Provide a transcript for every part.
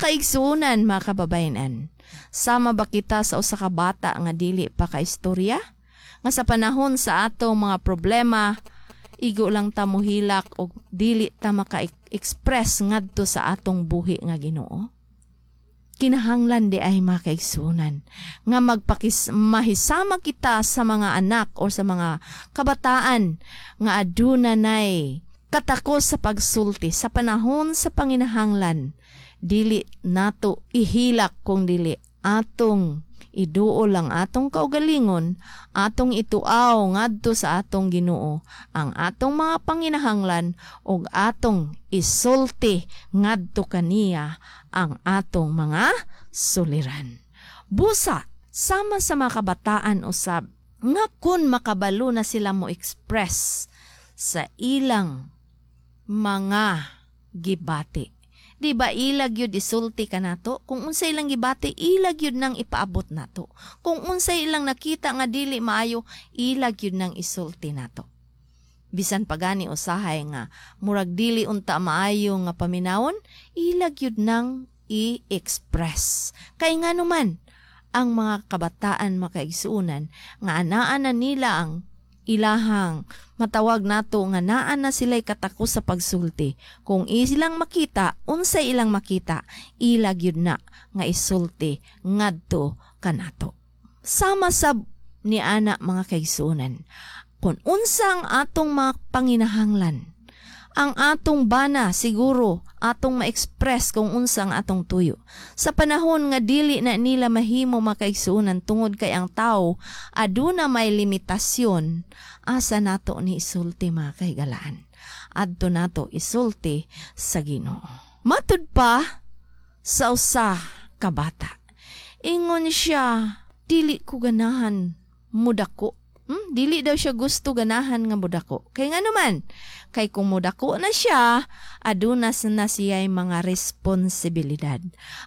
Mga kaigsuonan, mga kababayenan, sama ba kita sa usa ka bata nga dili pa kaistorya? Nga sa panahon sa atong mga problema, igo lang ta mohilak og dili ta maka-express ngadto sa atong buhi nga Ginoo? Kinahanglan diay, mga kaigsuonan, nga magpakis mahisama kita sa mga anak o sa mga kabataan nga aduna nay katakos sa pagsulti sa panahon sa panginahanglan. Dili nato ihilak kung dili atong iduol ang atong kaugalingon, atong ituaw ngadto sa atong Ginoo ang atong mga panginahanglan ug atong isulti ngadto kaniya ang atong mga suliran. Busa sama sa mga kabataan usab nga kun makabalo na sila mo express sa ilang mga gibati. Di ba ila gyud isulti kanato? Kung unsa ilang gibati, ila gyud nang ipaabot nato. Kung unsa ilang nakita nga dili maayo, ila gyud nang isulti nato. Bisan pagani usahay nga murag dili unta maayo nga paminawon, ila gyud nang i-express. Kay nga naman, ang mga kabataan, makaigsuunan, nga anaa na nila ang ilahang matawag nato nga naa na sila'y katakos sa pagsulti. Kung ilang makita, unsay ilang makita, ila gyud na nga isulti ngadto kanato. Sama sab ni ana, mga kaigsuonan, kung unsa ang atong mga panginahanglan, ang atong bana siguro atong ma-express kung unsa ang atong tuyo. Sa panahon nga dili na nila mahimo, makaigsuonan, tungod kay ang tao aduna may limitasyon, asa nato ni isulti, mga kahigalaan? Adto nato isulti sa Ginoo. Matud pa sa usa ka bata. Ingon siya, "Dili ko ganahan mudako." Dili daw siya gusto ganahan nga mudako. Kay nga naman, kay kung mudako na siya, aduna na siya mga responsibilidad.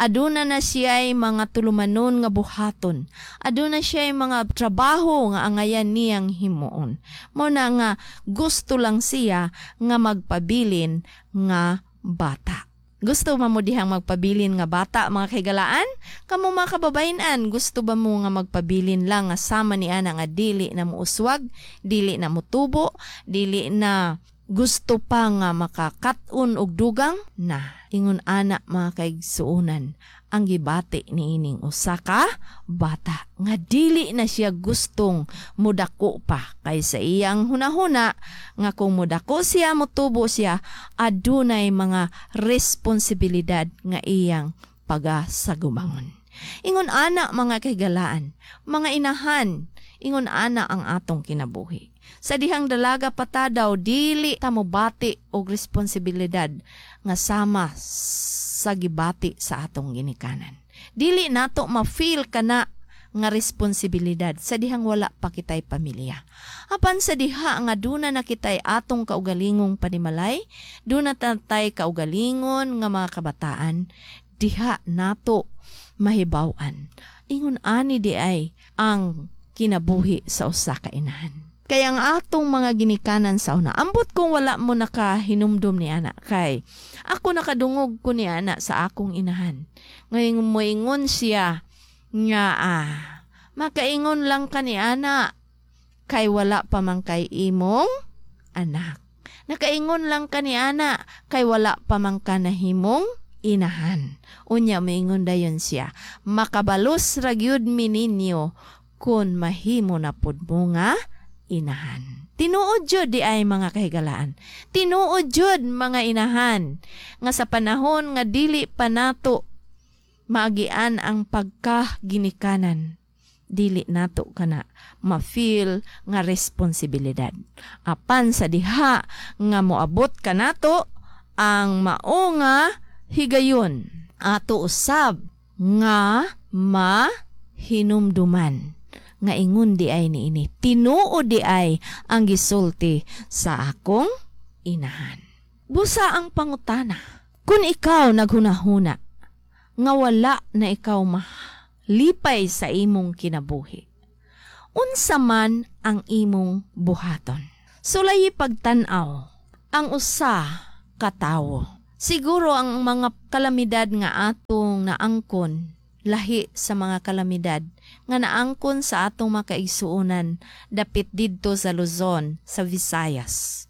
Aduna na siya mga tulumanon nga buhaton. Aduna siya mga trabaho nga angayan niyang himuon. Mao na nga gusto lang siya nga magpabilin nga bata. Gusto ba mo dihang magpabilin nga bata, mga kahigalaan? Kamo, mga kababayenan, gusto ba mo nga magpabilin lang nga sama ni ana nga dili na muuswag, dili na mutubo, dili na gusto pa nga makakat-on og dugang na? Ingon ana, mga kaigsuonan, ang gibati niining usa ka bata nga dili na siya gustong mudako pa kay sa iyang hunahuna nga kung mudako siya, mutubo siya, adunay mga responsibilidad nga iyang pagasagumangon. Ingon ana, mga kahigalaan, mga inahan, ingon ana ang atong kinabuhi. Sa dihang dalaga pa ta daw, dili ta mobati og responsibilidad nga sama sa gibati sa atong ginikanan. Dili nato ma-feel kana nga responsibilidad sa dihang wala pa kitay pamilya. Apan sa diha nga duna na kitay atong kaugalingong panimalay, duna tatay kaugalingon nga mga kabataan, diha nato mahibaw-an. Ingon ani diay ang kinabuhi sa usa ka inahan. Kaya ang atong mga ginikanan sa una, ambot kung wala mo nakahinumdum ni ana, kay ako nakadungog ko ni ana sa akong inahan. Ngayon moingon siya nga "Makaingon lang ka ni ana kay wala pa man kay imong anak. Nakaingon lang ka ni ana kay wala pa man ka nahimong inahan." Unya moingon dayon siya, "Makabalos ra gyud mi ninyo kun mahimo na pud mo nga inahan." Tinuod jud diay, mga kahigalaan. Tinuod jud, mga inahan, nga sa panahon nga dili pa nato maagian ang pagkaginikanan, dili nato kana ma-feel nga responsibilidad. Apan sa diha nga moabot kanato ang mao nga higayon, ato usab nga mahinumduman nga ingon diay niini, "Tinuod diay ang gisulti sa akong inahan." Busa ang pangutana, kung ikaw naghunahuna nga wala na ikaw malipay sa imong kinabuhi, unsa man ang imong buhaton? Sulay pagtan-aw ang usa ka tawo. Siguro ang mga kalamidad nga atong naangkon lahi sa mga kalamidad nga naangkon sa atong makaigsuonan dapit didto sa Luzon, sa Visayas.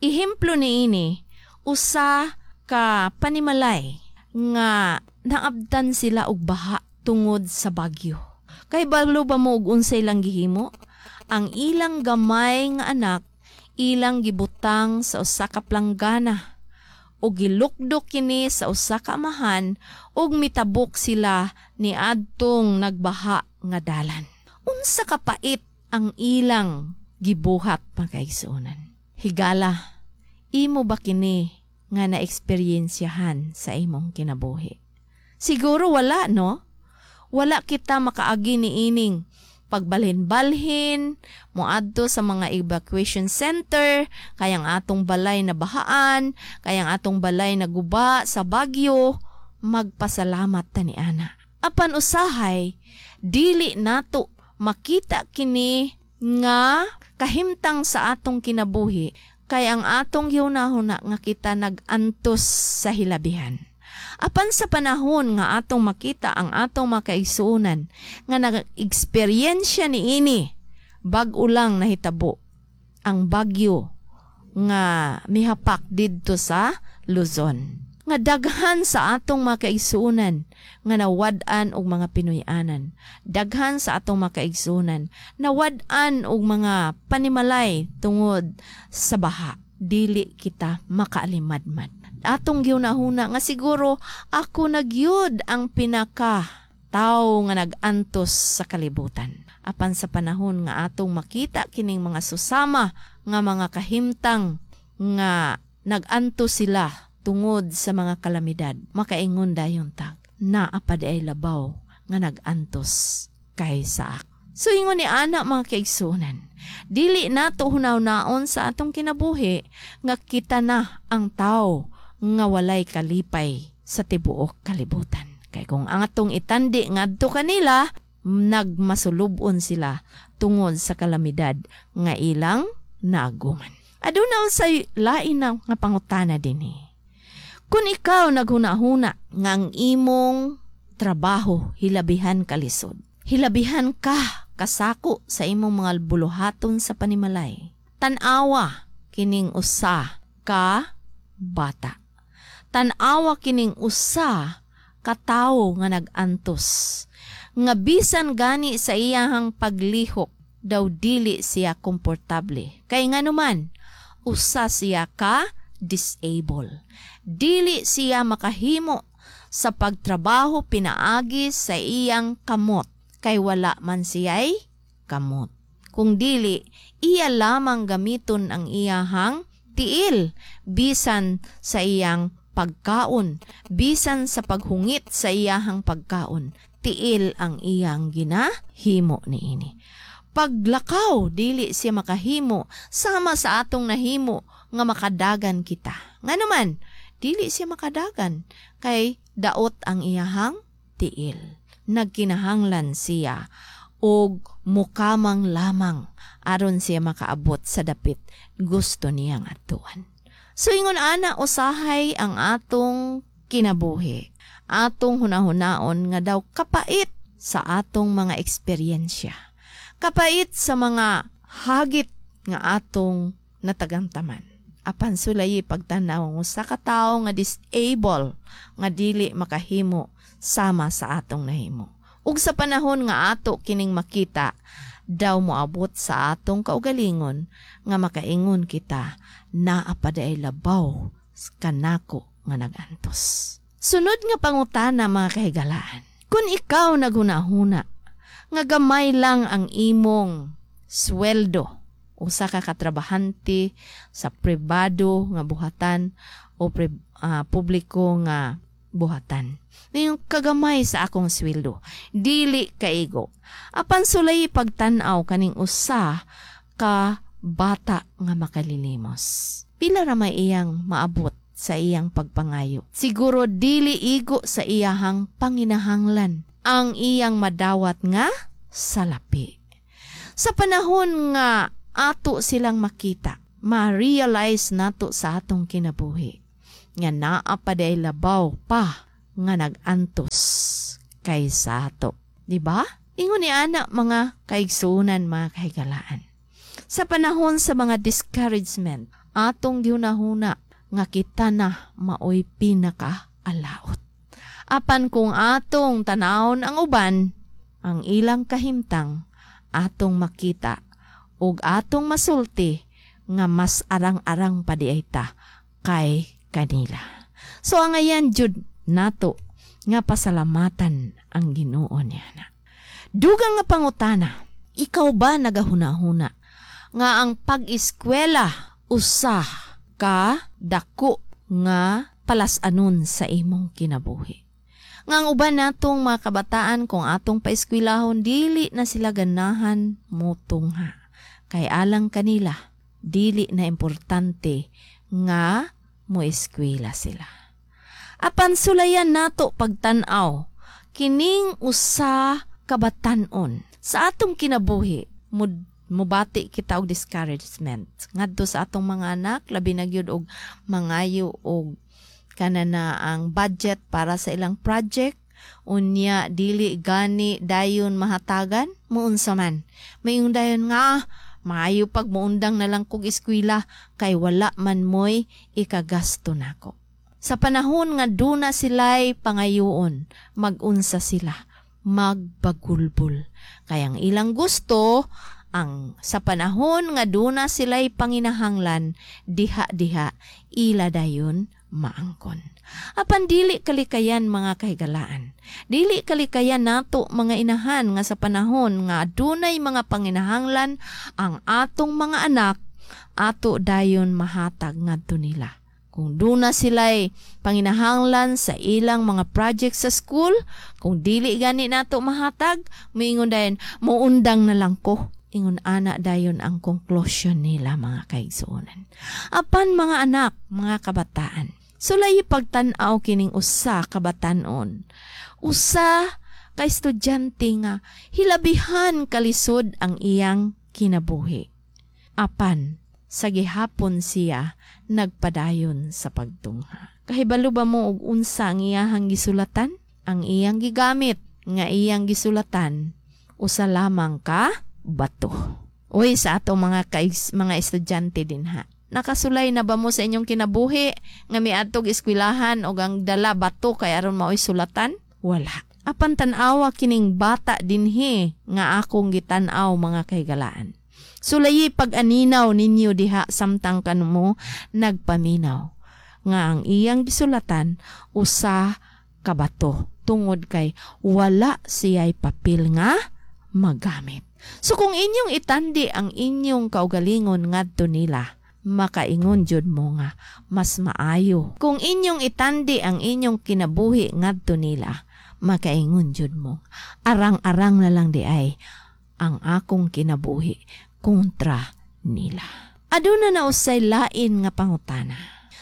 Ehemplo niini, usa ka panimalay nga naabtan sila og baha tungod sa bagyo. Kay balo ba mo og unsay ilang gihimo? Ang ilang gamay nga anak ilang gibutang sa usa ka planggana ug gilukdok kini sa usa ka amahan ug mitabok sila niadtong nagbaha nga dalan. Unsa ka pait ang ilang gibuhat, mga kaigsuonan. Higala, imo ba kini nga na-eksperyensyahan sa imong kinabuhi? Siguro wala, no? Wala kita makaagi niining pagbalhin-balhin, moadto sa mga evacuation center, kayang atong balay na bahaan, kayang atong balay na guba sa bagyo, magpasalamat ta ni ana. Apan usahay, dili nato makita kini nga kahimtang sa atong kinabuhi kay ang atong gihunahuna nga kita nag-antos sa hilabihan. Apan sa panahon nga atong makita ang atong makaigsuonan nga nag-eksperyensya niini, bag-o lang nahitabo ang bagyo nga mihapak didto sa Luzon. Nga daghan sa atong makaigsuonan nga nawad-an og mga Pinoy-anan. Daghan sa atong makaigsuonan nawad-an og mga panimalay tungod sa baha. Dili kita makaalimadmad. Atong gihunahuna nga siguro ako na gyud ang pinaka tawo nga nag-antos sa kalibutan. Apan sa panahon nga atong makita kining mga susama nga mga kahimtang nga nag-antos sila tungod sa mga kalamidad, makaingon dayon tag, naa pa diay labaw nga nag-antos kaysa ako. So ingon ni ana, mga kaigsuonan, dili nato hunaw-naon sa atong kinabuhi nga kita na ang tao nga walay kalipay sa tibuok kalibutan. Kay kung ang atong itandi ngadto kanila, nagmasulubon sila tungod sa kalamidad nga ilang naaguman. Aduna usay lain na nga pangutana dinhi. Kung ikaw naghuna-huna nga ang imong trabaho hilabihan kalisod, hilabihan ka kasako sa imong mga buluhaton sa panimalay, tan-awa kining usa ka bata. Tan-awa kining usa ka tawo nga nag-antos nga bisan gani sa iyahang paglihok daw dili siya komportable. Kay nganuman, usa siya ka disable. Dili siya makahimo sa pagtrabaho pinaagi sa iyang kamot kay wala man siya'y kamot. Kung dili, iya lamang gamiton ang iyahang tiil bisan sa iyang pagkaon, bisan sa paghungit sa iyahang pagkaon, tiil ang iyang ginahimo niini. Paglakaw, dili siya makahimo sama sa atong nahimo nga makadagan kita. Nganuman, dili siya makadagan kay daot ang iyahang tiil. Nagkinahanglan siya og mukamang lamang aron siya makaabot sa dapit gusto niyang atuan. So ingon ana usahay ang atong kinabuhi. Atong hunahunaon nga daw kapait sa atong mga eksperyensya. Kapait sa mga hagit nga atong natagamtaman. Apan sulayi pagtanaw ang usa ka tawo nga disable nga dili makahimo sama sa atong nahimo. Ug sa panahon nga ato kining makita, daw moabot sa atong kaugalingon nga makaingon kita, naa pa diay labaw kanako nga nagantos. Sunod nga pangutana, mga kahigalaan. Kung ikaw naghunahuna nga gamay lang ang imong sweldo, usa ka katrabahante sa pribado nga buhatan o publiko nga buhatan. Yung kagamay sa akong sweldo, dili kaigo. Apan sulay pagtan-aw kaning usa ka bata nga makalilimos. Pila ra may iyang maabot sa iyang pagpangayo? Siguro dili igo sa iyahang panginahanglan ang iyang madawat nga salapi. Sa panahon nga ato silang makita, ma-realize nato sa atong kinabuhi. nga naa pa diay labaw pa nga nag-antos kaysa ato. Di ba? Ingon ni ana, mga kaigsuonan, mga kahigalaan. Sa panahon sa mga discouragement, atong gihunahuna nga kita na maoy pinaka alaot. Apan kung atong tanawon ang uban, ang ilang kahimtang, atong makita ug atong masulti nga mas arang-arang pa diay ta kay kanila. So angayan jud nato nga pasalamatan ang Ginoo niya na. Dugang nga pangutana, ikaw ba nagahuna-huna nga ang pag-eskwela usa ka dako nga palas-anon sa imong kinabuhi? Nga ang uban natong mga kabataan, kung atong paeskwelahon, dili na sila ganahan motungha. Kay alang kanila, dili na importante nga mo eskwela sila. Apan sulayan nato pagtan-aw kining usa ka batan-on. Sa atong kinabuhi, mubati kita og discouragement ngadto sa atong mga anak, labi na gyud og mangayo og kana na ang budget para sa ilang project, unya dili gani dayon mahatagan. Muunsa man, mayong dayon nga, "Maayo pag muundang na lang kog eskwela kay wala man moy ikagasto nako." Sa panahon nga duna sila'y pangayoon, magunsa sila? Magbagulbol. Kay ang ilang gusto, ang sa panahon nga duna sila'y panginahanglan, diha-diha ila dayon maangkon. Apan dili kalikayan, mga kahigalaan. Dili kalikayan nato mga inahan nga sa panahon nga adunay mga panginahanglan ang atong mga anak, ato dayon mahatag ngadto nila. Kung duna sila'y panginahanglan sa ilang mga project sa school, kung dili gani nato mahatag, moingon dayon, "Muundang na lang ko." Ingon ana dayon ang conclusion nila, mga kaigsuonan. Apan mga anak, mga kabataan, sulay pagtan-aw kining usa ka batan-on. Usa ka estudyante nga hilabihan kalisod ang iyang kinabuhi. Apan sa gihapon siya nagpadayon sa pagtungha. Kahibalo ba mo og unsa ang iyahang gisulatan? Ang iyang gigamit nga iyang gisulatan, usa lamang ka bato. Uy, sa atong mga estudyante dinha, nakasulay na ba mo sa inyong kinabuhi nga miadtog eskwelahan og ang dala bato kay aron maoy sulatan? Wala. Apan tan-awa kining bata dinhi nga akong gitan-aw, mga kahigalaan. Sulayi pag-aninaw ninyo diha samtang kanmo nagpaminaw nga ang iyang gisulatan usa ka bato tungod kay wala siya'y papel nga magamit. So kung inyong itandi ang inyong kaugalingon ngadto nila, makaingon jud mo nga mas maayo. Kung inyong itandi ang inyong kinabuhi ngadto nila, makaingon jud mo, arang-arang na lang diay ang akong kinabuhi kontra nila. Aduna na usay lain nga pangutana.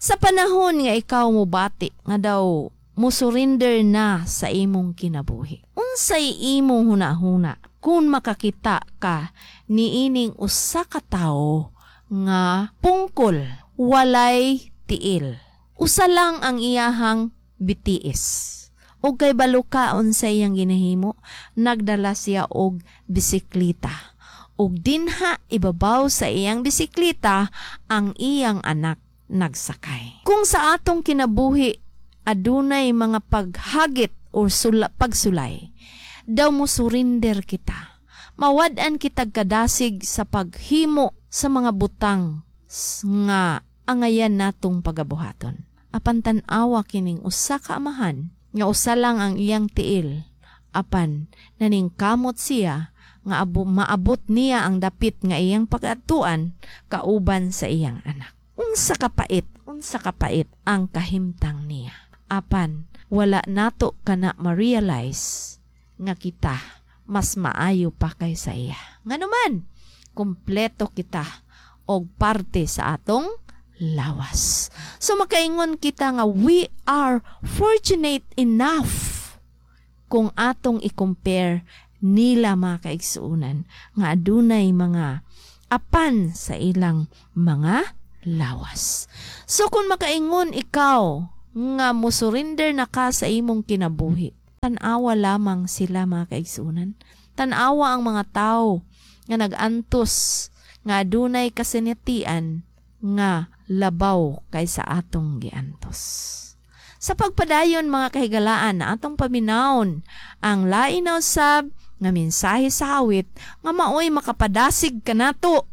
Sa panahon nga ikaw mobati nga daw mo surrender na sa imong kinabuhi, unsay imong hunahuna kung makakita ka niining usa ka tawo nga pungkol, walay tiil? Usa lang ang iyahang bitiis. Og kay balo ka unsay iyang ginahimo, nagdala siya og bisikleta. Og dinha ibabaw sa iyang bisikleta ang iyang anak nagsakay. Kung sa atong kinabuhi adunay mga paghagit o pagsulay, daw mo surrender kita. Mawad-an kitag kadasig sa paghimo sa mga butang nga angayan natong pagabuhaton. Apan tan-awa kining usa ka amahan nga usa lang ang iyang tiil. Apan naningkamot siya nga maabot niya ang dapit nga iyang pag-atuan kauban sa iyang anak. Unsa kapait ang kahimtang niya. Apan wala nato kana ma-realize nga kita mas maayo pa kaysa iya. Nganuman, kumpleto kita og parte sa atong lawas. So makaingon kita nga we are fortunate enough kung atong i-compare nila, mga kaigsuonan, nga adunay mga apan sa ilang mga lawas. So kung makaingon ikaw nga musurrender na ka sa imong kinabuhi, tan-awa lamang sila, mga kaigsunan. Tan-awa ang mga tao nga nag-antos nga adunay kasinatian nga labaw kaysa atong giantos. Sa pagpadayon, mga kahigalaan, atong paminawon ang lain na usab nga mensahe sa awit nga maoy makapadasig kanato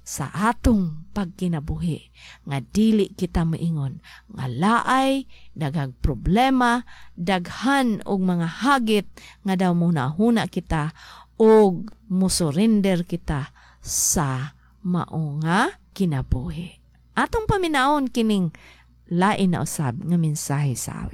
sa atong pagkinabuhi nga dili kita moingon nga laay, daghang problema, daghan og mga hagit nga daw mohuna kita og musurrender kita sa mao nga kinabuhi. Atong paminawon kining lain na usab nga mensahe sa awit.